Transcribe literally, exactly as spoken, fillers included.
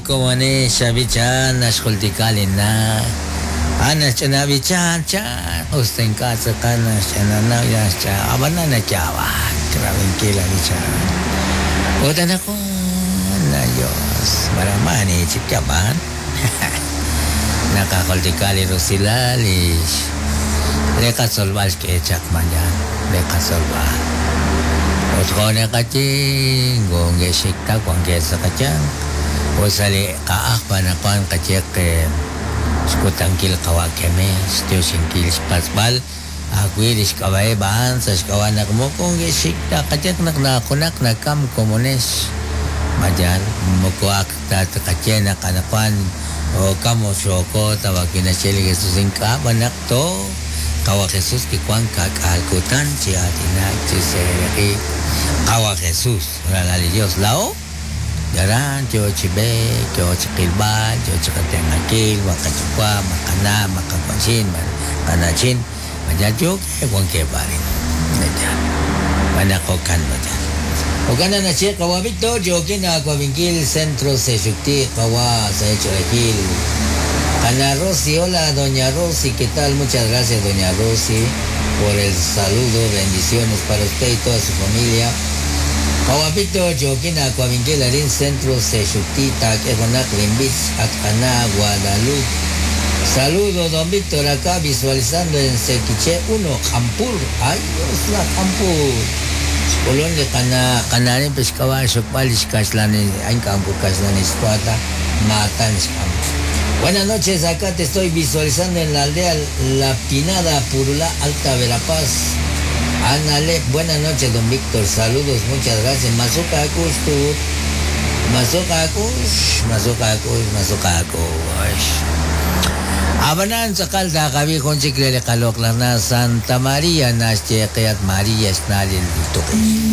komone xab'ichan naxjultika lina ana xch'inab'ichan chan usta ink'a' tz'aqal naxch'inana naxch'a ab'anan nayaab'ak rabinkil ab'ichan ut anaqwan la Dios maramani chik yab'an naqajultika li rusilal lix li qatzolb'al xk'e chaq mañan li qatzolb'al ut jo' naqaye ngonge'xikta wankeb' sa' qayanq ut sa' li qa'aj panaqwan qayeq xkutankil qawa' keme xtioxinkil xpatz'b'al ajwi' li xk'ab'a'eb' a'an sa' xk'ab'a' naq moko nge'xikta qayeq naq najunaq nakam komonex mayal moko ak ta qaye naq anaqwan okam oxoko tabakinaxye li Jesús ink'a' b'anaq to qawa Jesús kiwan kak'al kutan chi aatinak chi seeraqi qawa Jesús ralal li Dios lao yaran yo chi b'eek yo chi qilb'al yo chi qatenqankil ma qayuwa' ma qana' ma qawa'chin ma qana'chin mayal yo wankeb' arin mayal b'anaq jo'kan mayal jo'kan naxye qawa Víctor yokin awabinkil Centro Sexucti qawa sa' Ch'olejil Ana Rosy, hola doña Rosy, ¿qué tal? Muchas gracias doña Rosy por el saludo, bendiciones para usted y toda su familia. Kawapito, Joaquina, Coavinquel, Arín, Centro, Sexuctita, Kejonak, Limbis, Atcaná, Guadalupe. Saludo, don Víctor, acá visualizando en Sequiche uno, Jampur. Ay, Dios, la Jampur. Colón de Cana, Canarín, Pescaba, Xocpal, Xcaxlani, Ainkampu, Caxlani, Escuata, Matan, Buenas noches, acá te estoy visualizando en la aldea La Pinada, Purulá, Alta Verapaz. Anale, buenas noches, don Víctor, saludos, muchas gracias. Mazuka Akush, tu. Mazuka Akush, Mazuka Akush, Mazuka Akush. Abanan tzakal takabi junchik lele kalok na Santa María, Nash María, Snalil Tuki.